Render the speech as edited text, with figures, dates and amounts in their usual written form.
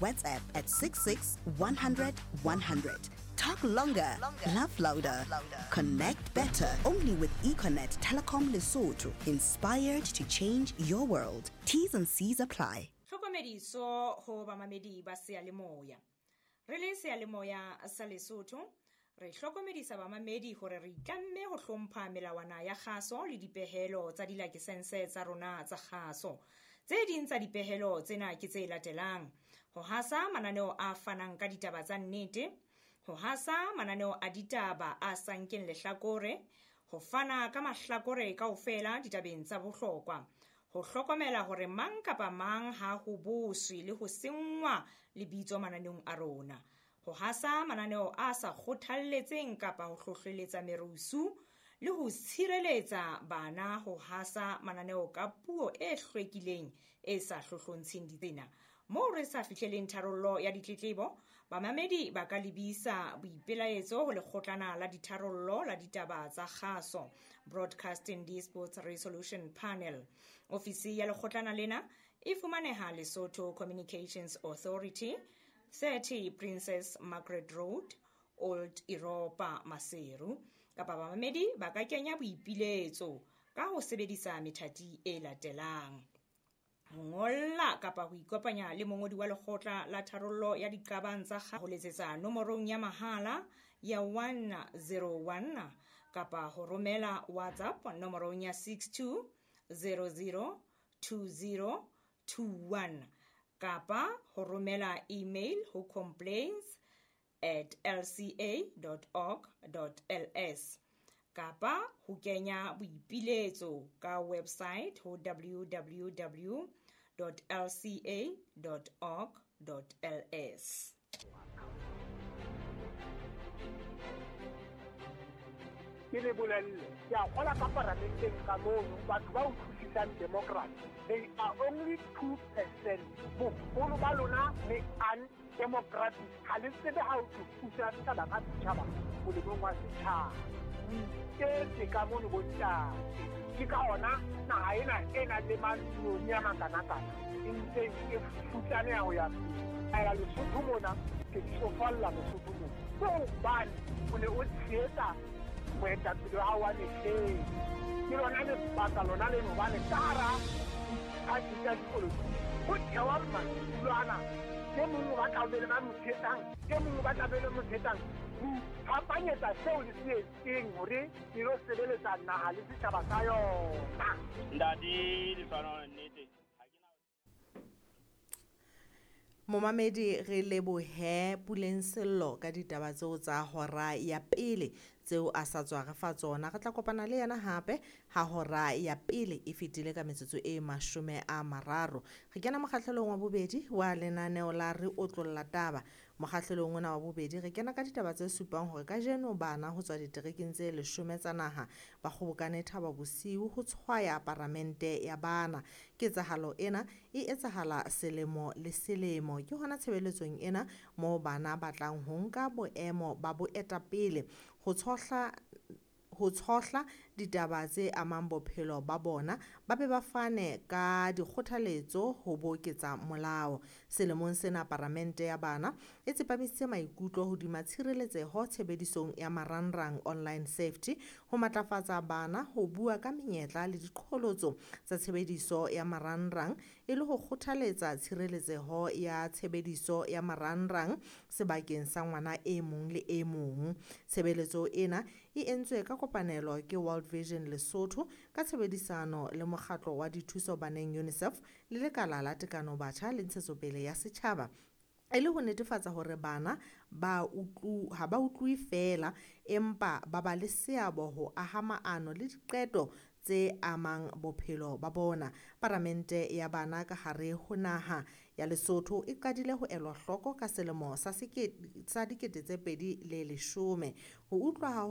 WhatsApp at 66 100 100. Talk longer, laugh louder, connect better. Only with Econet Telecom Lesotho. Inspired to change your world. T's and C's apply. Tlhokomediso ho bamamedi ba seyalemoya. Re le seyalemoya sa Lesotho, re hlokomedisa bamamedi hore re itlamme ho hlompha melawana ya kgaso le dipehelo tsa dilakesense tsa rona tsa kgaso. Tse ding tsa dipehelo tsena ke tse latelang: ho hasa mananeo a fanang ka ditaba tsa nnete, ho hasa mananeo a ditaba a sa nkeng lehlakore, ho fana ka mahlakore kaofela ditabeng tsa bohlokwa, ho hlokomela hore mang kapa mang ha ho boswe le ho senngwa lebitso mananeong a rona, ho hasa mananeo a sa kgothalletseng kapa ho hlohleletsa merusu, le ho tshireletsa bana ho hasa mananeo ka puo e hlwekileng e sa hlohlontsheng ditsena. Moo re sa fihleleng tharollo ya ditletlebo, bamamedi ba ka lebisa boipelaetso ho lekgotlana la ditharollo la ditaba tsa kgaso, Broadcasting Disputes Resolution Panel. Ofisi ya lekgotlana lena e fumaneha Lesotho Communications Authority, 30 Princess Margaret Road, Old Europa, Maseru. Kapa bamamedi ba ka kenya boipiletso ka ho sebedisa methati e latelang: ho ngolla kapa ho ikopanya le mongodi wa lekgotla la tharollo ya diqabang tsa ho letsetsa nomorong ya mahala ya 101 kapa ho romela WhatsApp nomorong ya 62002021 kapa ho romela email ho complaints@lca.org.ls kapa ho kenya boipiletso ka website ho www.lca.org.ls. Ke le bolelle, ke a kgola ka paramenteng ka mono, batho ba utlwisisang democracy, they are only 2%. Boholo ba lona le undemocratic, ha le tsebe ha o thusa setjhaba ka setjhaba molemong wa setjhaba. O iketse ka mono bontate. Ke ka hona naha ena e nang le maloni a makanakana e ntseng e futsaneha ho ya pele. Ela Lesotho mona, ke tsofalla Lesotho mona. Ke hobane o ne o tshehetsa moetapele wa hao wa mehleng. Ke lona lebaka lona leno hobane ka hara diphathi tsa dipolotiki ho thewa madulo ana. E mong o batla ho be le ba mo tshehetsang, e mong o batla be le mo tshehetsang. Ho iphapanyetsa seo le se etseng hore le lo sebeletsa naha le setjhaba sa yona. Ntate Lefano, nnete. Momamedi, re lebohe Puleng Sello ka ditaba tseo tsa hora ya pele tseo a sa tswa re fa tsona. Re tla kopana le yena hape ha hora ya pele e fetile ka metsotso e 30. Re kena mokgahlelong wa bobedi wa lenaneo la Re Otlolla Taba. Mokgahlelong ona wa bobedi re kena ka ditaba tse supang hore kajeno bana ho tswa diterekeng tse 10 tsa naha ba kgobokane Thaba Bosiu ho tshwaya paramente ya bana. Ketsahalo ena e etsahala selemo le selemo. Ke hona tshebeletsong ena moo bana ba tlang ho nka boemo ba boetapele ho tshohla ditaba tse amang bophelo ba bona, ba be ba fane ka dikgothaletso ho boketsa molao. Selemong sena paramente ya bana e tsepamisitse maikutlo hodima tshireletseho tshebedisong ya marangrang online safety, ho matlafatsa bana ho bua ka menyetla le diqholotso tsa tshebediso ya marangrang e le ho kgothaletsa tshireletseho ya tshebediso ya marangrang sebakeng sa ngwana e mong le e mong. Tshebeletso ena e entswe ka kopanelo ke World Vision Lesotho ka tshebedisano le mokgatlo wa dithuso baneng UNICEF le lekala la tekano batjha le ntshetsopele ya setjhaba, e le ho netefatsa hore bana ba ha ba utlwe feela empa ba ba le seabo ho aha maano le diqeto tse amang bophelo ba bona. Paramente ya bana ka hare ho naha ya Lesotho e qadile ho elwa hloko ka selemo sa 2010. Ho utlwa ha